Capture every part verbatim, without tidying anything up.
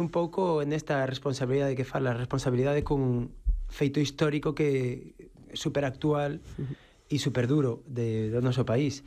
un pouco nesta responsabilidade que fala, responsabilidade cun feito histórico que super actual e super duro de, do noso país.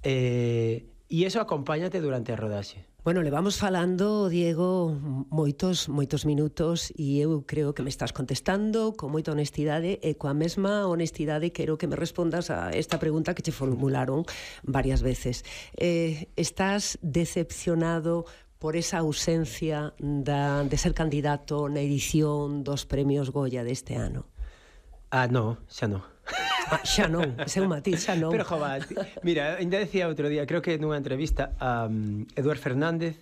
Eh, e iso acompáñate durante a rodaxe. Bueno, le vamos falando, Diego, moitos, moitos minutos e eu creo que me estás contestando con moita honestidade e coa mesma honestidade quero que me respondas a esta pregunta que te formularon varias veces. Eh, estás decepcionado por esa ausencia da, de ser candidato na edición dos premios Goya deste ano? Ah, no, xa non. Ah, xa non, ese é un matiz, xa non. Pero, jova, mira, ainda decía outro día, creo que nunha entrevista a um, Eduard Fernández,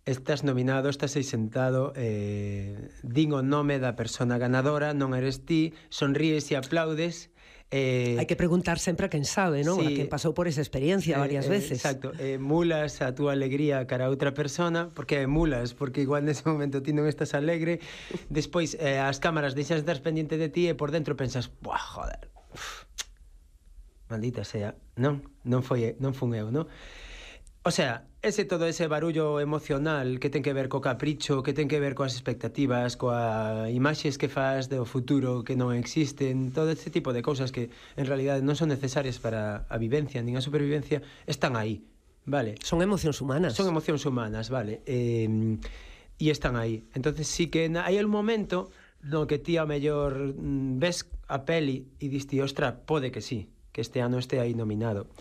estás nominado, estás aí sentado, eh, din o nome da persona ganadora, non eres ti, sonríes e aplaudes. Eh, Hai que preguntar sempre a quen sabe, non? Sí, a quen pasou por esa experiencia eh, varias veces. Eh, exacto, eh, mulas a túa alegría cara a outra persona, porque mulas, porque igual nese momento ti non estás alegre, despois eh, as cámaras deixas de estar pendiente de ti e por dentro pensas, buah, joder, uf, maldita sea, non, non foi, non fun eu, non? O sea, ese todo ese barullo emocional que ten que ver co capricho, que ten que ver coas expectativas, coa imaxes que faz do futuro que non existen, todo este tipo de cousas que en realidade non son necesarias para a vivencia nin a supervivencia, están aí, vale? Son emocións humanas. Son emocións humanas, vale? Eh, e están aí. Entonces sí que hai un momento no que ti ao mellor ves a peli e diste, ostra, pode que sí, que este ano este aí nominado.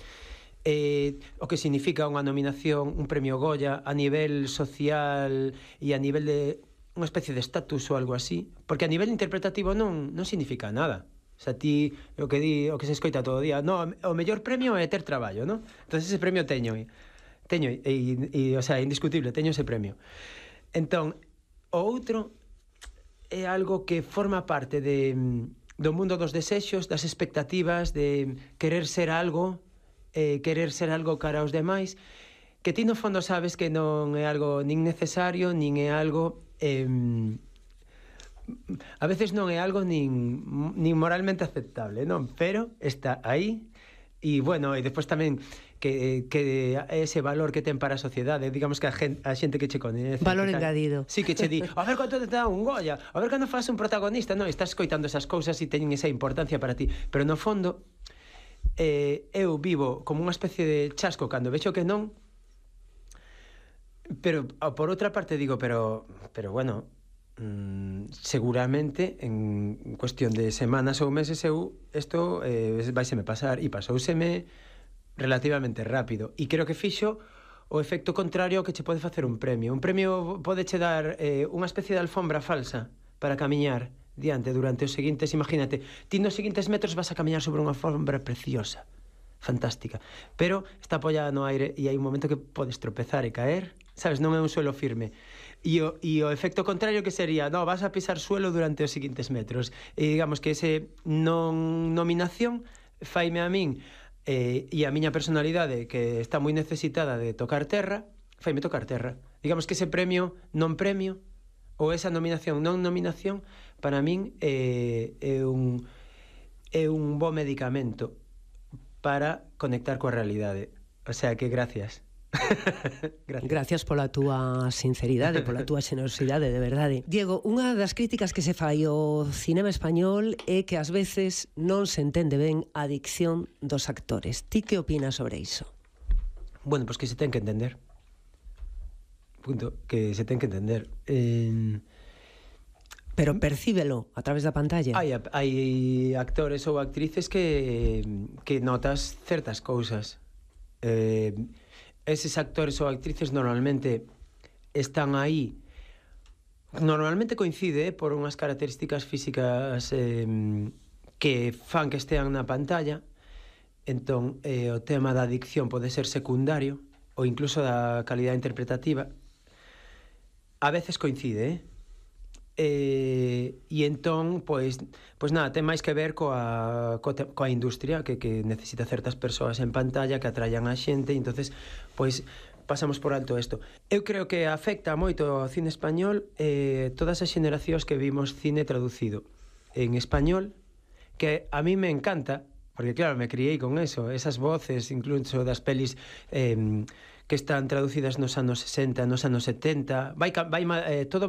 Eh, o que significa unha nominación, un premio Goya a nivel social e a nivel de unha especie de estatus ou algo así, porque a nivel interpretativo non, non significa nada. O sea, ti, o que di, o que se escoita todo o día, no, o mellor premio é ter traballo, non? Entonces ese premio teño, teño, e, e, o sea, indiscutible, teño ese premio. Entón, o outro é algo que forma parte de, do mundo dos desexos, das expectativas, de querer ser algo, eh, querer ser algo cara aos demais, que ti no fondo sabes que non é algo nin necesario, nin é algo eh, a veces non é algo nin, nin moralmente aceptable, non? Pero está aí. E, bueno, e despois tamén que, que ese valor que ten para a sociedade, digamos que a xente, a xente que che coñece, valor que engadido. Sí, que che di, a ver quanto te dá un Goya, a ver cando faz un protagonista, non, estás escoitando esas cousas e teñen esa importancia para ti, pero no fondo eh, eu vivo como unha especie de chasco cando vexo que non, pero por outra parte digo, pero pero bueno, mm, seguramente en cuestión de semanas ou meses eu isto eh, vaiseme pasar, e pasouseme relativamente rápido, e creo que fixo o efecto contrario ao que che pode facer un premio. Un premio pode che dar eh, unha especie de alfombra falsa para camiñar diante durante os seguintes, imagínate, ti nos seguintes metros vas a camiñar sobre unha alfombra preciosa, fantástica, pero está apoiada no aire e hai un momento que podes tropezar e caer, sabes, non é un suelo firme. E o, e o efecto contrario que sería, no, vas a pisar suelo durante os seguintes metros. E digamos que ese non nominación faime a min eh, e a miña personalidade que está moi necesitada de tocar terra, faime tocar terra. Digamos que ese premio non premio ou esa nominación non nominación para min é, é un é un bo medicamento para conectar coa realidade. O sea que gracias. Gracias. Gracias pola túa sinceridade, pola túa xenerosidade, de verdade. Diego, unha das críticas que se fai ao cinema español é que ás veces non se entende ben a dicción dos actores. Ti que opinas sobre iso? Bueno, pois pues que se ten que entender. Punto, que se ten que entender. Eh... Pero percíbelo a través da pantalla. Hai, hai actores ou actrices que, que notas certas cousas. Eh... Eses actores ou actrices normalmente están aí, normalmente coincide eh, por unhas características físicas eh, que fan que estean na pantalla. Entón eh, o tema da dicción pode ser secundario ou incluso da calidade interpretativa. A veces coincide, eh? Eh, e entón, pois, pois nada, ten máis que ver coa, coa, coa industria que, que necesita certas persoas en pantalla que atraian a xente, e entonces, pois, pasamos por alto isto. Eu creo que afecta moito ao cine español eh, todas as xeneracións que vimos cine traducido en español, que a mí me encanta, porque claro, me criei con eso, esas voces, incluso das pelis eh, que están traducidas nos anos sesenta, nos anos setenta, vai, vai eh, todo